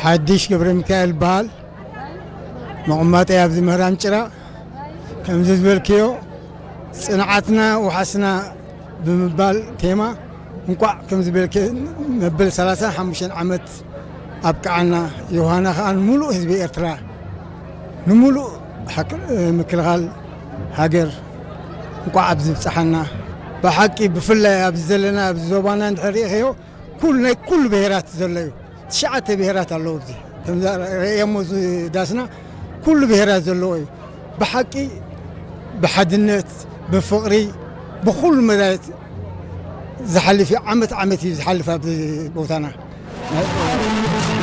ሓድሽ ገብረ ሚካኤል ይበሃል። መቐመጠይ ኣብዚ ምህራም ጭራ። ከምዚ ዝበልክዮ ጽንዓትና ውሓስና ብምባል ቴማ እንቋዕ ከምዚ በልክ መበል ሰላሳን ሓሙሽተን ዓመት ኣብቅዓና። ዮሃና ከኣ ንምሉእ ህዝቢ ኤርትራ፣ ንምሉእ ሓክ-፣ ምክልኻል ሃገር እንቋዕ ኣብዚ ብጽሓና። ብሓቂ ብፍላይ ኣብዚ ዘለና ኣብዚ ዞባና እንድሕር ርኢኽዮ ኩሉ ናይ ኩሉ ብሄራት ዘሎ እዩ። ትሽዓተ ብሄራት ኣለዉ። እዚ ከምዛ ረእየሞ እዚ ዳስና ኩሉ ብሄራት ዘለዎ እዩ። ብሓቂ ብሓድነት ብፍቕሪ ብኹሉ መዳየት ዝሓልፍ እዩ። ዓመት ዓመት እዩ ዝሓልፍ ኣብዚ ቦታና።